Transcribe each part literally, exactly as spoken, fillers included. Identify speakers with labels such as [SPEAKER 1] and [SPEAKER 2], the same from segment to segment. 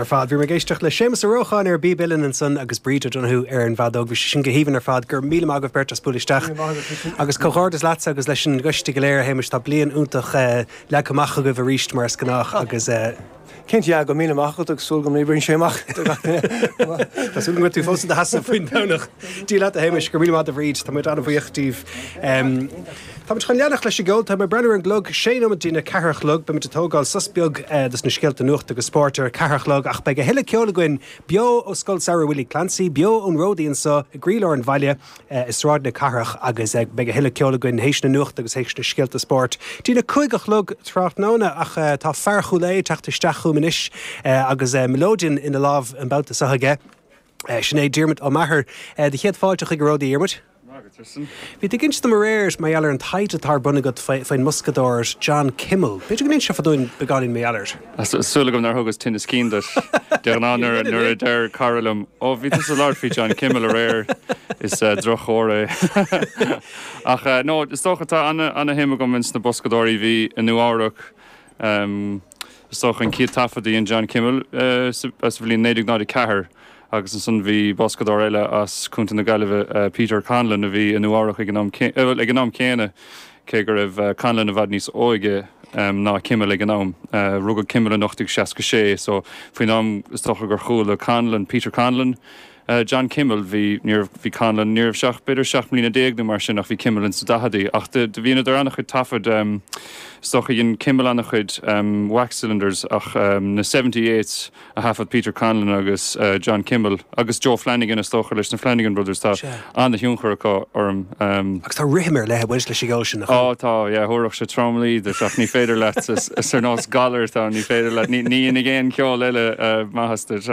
[SPEAKER 1] ar fad. Bhí ag éisteacht le Séamus Ó Rócháin ar bpíb uilleann ansan agus Bríd O'Donoghue ar an bhfeadóg. Bhí sin go haoibhinn ar fad. Go raibh míle maith agaibh beirt as bualadh isteach. Agus comhghairdeas leatsa agus leis an gcoiste go léir, a Shéamais. Tá bliain iontach eh, leagtha amach agaibh arís mar is gnách agus eh,
[SPEAKER 2] Cinnte, yeah, go míle maith agus súil go n-oibríonn sé amach.
[SPEAKER 1] Tá súil go tú fós i do sheasamh faoin Domhnach. Dia leat, a Shéamais, go míle maith a Bhríd. Tá muid an-bhuíoch díobh. Um, Tá chun leanacht leis an gceol. Tá mé ag breathnú ar an gclog, sé nóiméad don ceathair a chlog. Beimid ag tógáil sos beag uh, dos na scéalta nuachta agus spóirt ar ceathair a chlog, ach beidh a thuilleadh ceoil againn beo ó Scoil Samhraidh Willie Clancy, beo ón Ródaí anseo i gcroílár an bhaile uh, i Sráid na Cathrach agus uh, beidh a thuilleadh ceoil againn théis na nuachta agus théis na scéalta spóirt. Dtí a cúig a chlog tráthnóna, ach uh, tá fear Chúil Aodha ag teacht isteach chugam anois uh, agus uh, melodeon ina lámh an babhta seo aige. Uh, sin é Diarmuid Ó Meachair. uh, de chéad fáilte chuig an Ródaí, Diarmuid. Bhí tú ag insint dom aréir mar gheall ar an taighde atá ar bun agat faoin mboscadóir John Kimmel. B'fhéidir go n-inseofá dúinn beagáinín mar gheall air.
[SPEAKER 3] Súil agam nár thugas tinneas cinn duit. De ná nuair nuair a deir cara liom, ó bhí tú ag labhairt faoi John Kimmel aréir, is uh, drochchomhartha é. Ach uh, no, is dócha tá an-shuim agam ins na boscadóirí bhí i Nua-Eabhrac. Um, is dócha an chéad taifead a dhein John Kimmel uh, sa bhliain naoi déag náid a ceathair agus ansan bhí boscadóir eile as Contae na Gaillimhe, uh, Peter Conlon, a bhí i Nua-Eabhrac ag an am ag an am céanna, cé go raibh uh, Conlon i bhfad níos óige um, ná Kimmel ag an am. Uh, rugadh Kimmel in ocht déag seasca sé, so faoin am is dócha gur chuala Conlon, Peter Conlon, Uh, John Kimmel, bhí níor bhí Conlon níorbh seach b'fhéidir seacht mbliana déag nó mar sin, ach bhí Kimmel in sa daicheadaí, ach de bhí idir an-chuid taifead, um, is dócha dhein Kimmel an-chuid um, wax cylinders, ach um, na seventy eights a thaifead Peter Conlon agus uh, John Kimmel agus Joe Flanagan, is dócha leis na Flanagan Brothers. Tá an-thionchar acu orm.
[SPEAKER 1] Um, agus tá rithim ar leith leis an gceol sin.
[SPEAKER 3] Á, tá, thabharfadh sé tromluí duit, ach ní féidir leat, is ar nós galar tá, ní féidir leat, ní ní aon ceol eile uh, maitheas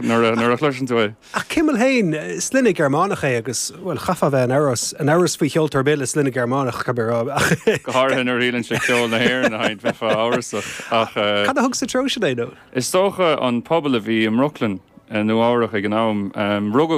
[SPEAKER 3] nuair a chloiseann tú é.
[SPEAKER 1] Ach Kimmel féin, sloinne Gearmánach é, agus, well, chaithfeá bheith in amhras in amhras faoi cheoltóir le sloinne Gearmánach.
[SPEAKER 3] Go háirithe nuair a shíleann sé ceol na hÉireann a sheinnt, bheifeá amhrasach, ach
[SPEAKER 1] Cad a thug sa treo sin é nó?
[SPEAKER 3] Is dócha an pobal a bhí i mBrooklyn, Nua-Eabhrac ag an am. Rugadh